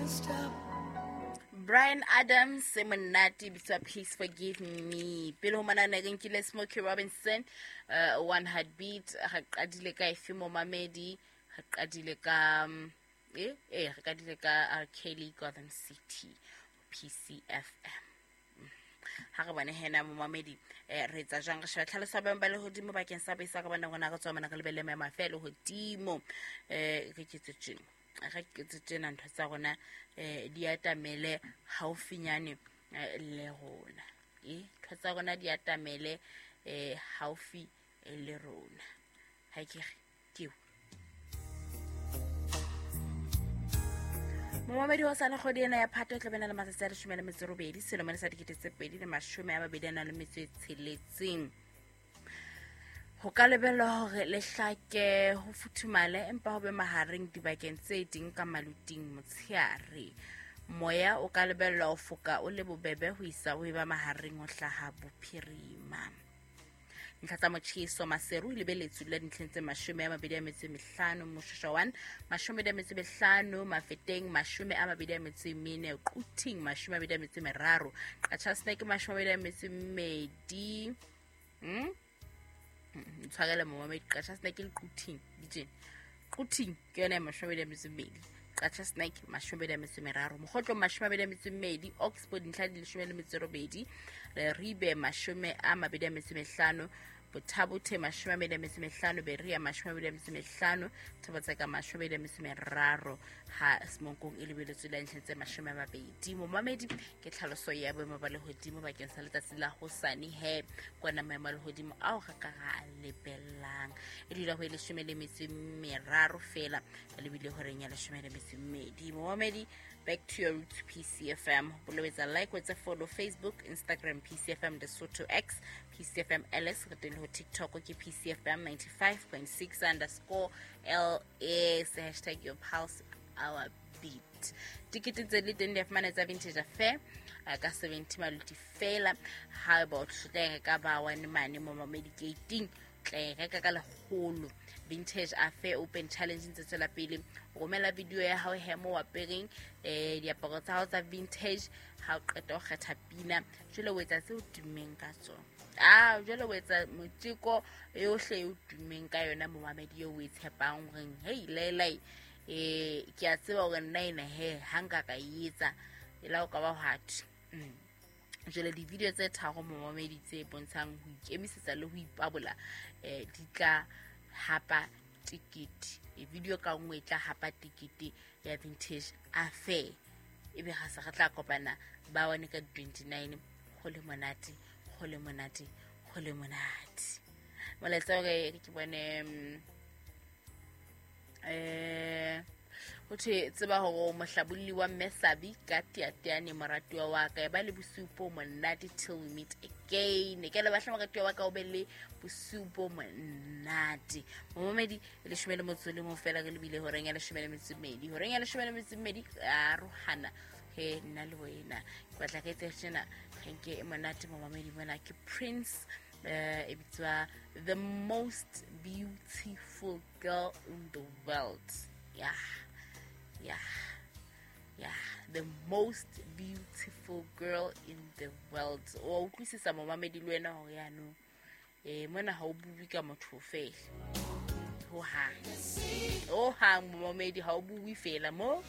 Stop. Brian Adams e monate bitswa Please Forgive Me. Pele ho mana ne re nkile Smokey Robinson, One Heartbeat. Re qadile ka efe momamedi? Re qadile ka re qadile ka R. Kelly, Gotham City, PCFM. Ha re bone hena momamedi, re etsa jwang? Re sheba tlhaloso ya boemo ba lehodimo bakeng sa besa ka bona rona re tswa mona re lebelle maemo a fe lehodimo. Re ketse tjena, re ketse tjena, ntho tsa rona di atamele haufinyane le rona. Ntho tsa rona di atamele haufi le rona. Ha ke re ke momamedi wa sana kgwedi ena ya Phato e tla bena le matsatsi a 18 selemo sa 2026. Ho ka lebellwa hore le hlake ho futhumale empa ho be mahareng dibakeng tse ding ka maluting motsheare. Moya o ka lebellwa ho foka o le bobebe ho isa ho eba mahareng ho hlaha bophirima. Ntlha tsa motjheso Maseru e lebeletswe la dintlheng tse 25, Moshoeshoe 1 25, Mafeteng 24, Quthing 23, Qacha's Nek 22. Ntshwarele momamedi, Qacha's Nek le Quthing ditjena. Quthing ke yona ya 22, Qacha's Nek 23, Mokhotlong 22, Oxford ntlha di 18, Leribe 25, Bothabothe 25, Berea 25, Thobatseka 23, ha Semonkong e lebeletswe la ntlheng tse 20. Momamedi, ke tlhaloso ya boemo ba lehodimo bakeng sa letsatsi la hosane he kwana maemo a lehodimo ao re ka ra a lebellang. E dula ho e 13 fela, lebile horeng ya 12. Momamedi, back to your roots, PCFM. Bolobetsa like, wetsa follow Facebook, Instagram, PCFM Lesotho X, PCFM LS, re teng le ho TikTok ke PCFM 95.6 underscore LS, hashtag your pulse, our beat. Tikete tse le teng di a fumana tsa Vintage Affair ka 70 maluti fela. Ha eba o tla reka ba one mane mo mamedi gating, tla e reka ka 100. Vintage Affair Open Challenge ntse tswela pele. Romela video ya hao he mo apereng diaparo tsa hao tsa vintage. Ha o qeta ho kgetha pina, jwale o etsa tseo tummeng ka tsona. Jwale o etsa moteko yohle eo tummeng ka yona momamedi eo o e tshepang horeng hei laelai, ke a tseba hore nna ena he ha nka ka e etsa e la o ka ba hwathi. Jwale di-video tse tharo momamedi tse bontshang ho ikemisetsa le ho ipabola, di tla hapa tikete. Video ka nngwe e tla hapa tikete ya Vintage Affair. Ebe ha se re tla kopana ba one ka 29, ho le monate, ho le monate, ho le monate. Molaetsa hore ke bone, ho thwe tseba hore o mohlabolli wa Mme Sabi ka teateane moratuwa wa ka, e ba le bosiu bo monate till we meet again. Ke le batla moratuwa wa ka o be le bosiu bo monate. Momamedi, 11 fela re lebile horeng ya 12. Horeng ya 12 arohana he nna le wena. Ke batla re etse tjena, re nke e monate momamedi mona ke Prince, e bitswa The Most Beautiful Girl in the World. Yeah. Yeah. Yeah, the most beautiful girl in the world. O utlwisisa momamedi le wena hore yaanong, mona ha o bue ka motho fela. Ho hang. Ho hang momamedi ha o bue fela mo.